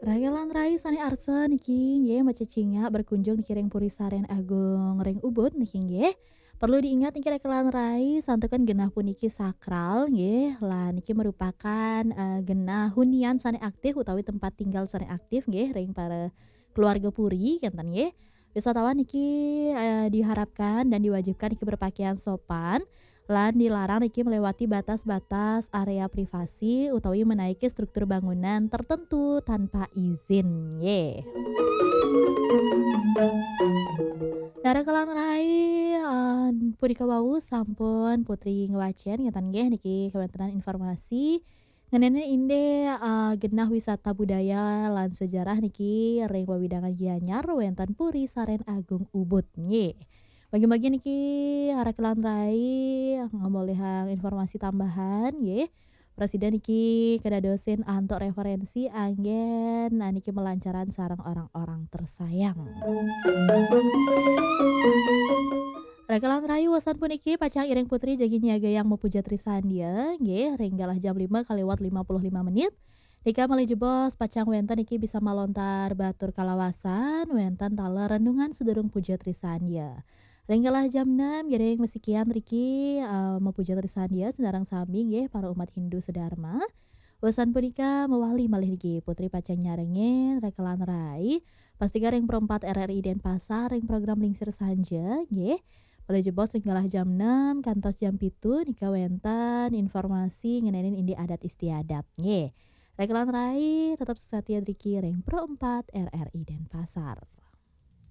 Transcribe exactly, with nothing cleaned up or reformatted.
Rakelan rai sané arsa niki nggih macecingak berkunjung niki ring Puri Saren Agung ring Ubud niki nggih. Perlu diingat niki rakelan rai, santukan genah puniki sakral nggih, lan niki merupakan, eh, genah hunian sané aktif utawi tempat tinggal sané aktif nggih ring para keluarga puri kénten nggih. Wisatawan niki, eh, diharapkan dan diwajibkan niki berpakaian sopan lan dilarang niki melewati batas-batas area privasi utawi menaiki struktur bangunan tertentu tanpa izin nggih. Nah, rakelan rai, eh, punika wau sampun Putri ngwacén ngénten nggih niki kawéntenan informasi ngenani indik, eh, genah wisata budaya lan sejarah niki ring wewidangan Gianyar wénten Puri Saren Agung Ubud nggih. Bagi-bagi niki rakelan rai ngamolihang informasi tambahan nggih. Prasida niki kadadosin antuk referensi anggén, nah, niki melancaran sareng orang-orang tersayang. Rakelan rai, wusan puniki pacang Iring Putri jagi nyiagayang Mapuja Trisandia nggih ring galah jam lima kaliwat lima puluh lima menit. Nika malih jebos pacang wénten niki bisa malontar batur kalawasan wénten taler renungan sedurung Puja Trisandia. Ring galah jam enam ngiring masikian riki, eh, Mapuja Trisandia sinareng sami nggih para umat Hindu sedharma. Wusan punika mawali malih niki Putri pacang nyarengin rakelan rai pastika ring Pro empat R R I Denpasar ring program Lingsir Sanja nggih. Malih jebos ring galah jam enam kantos jam pitu nika wénten informasi ngenénin indik adat istiadat nggih. Rakelan rai tetep satia riki ring Pro empat R R I Denpasar.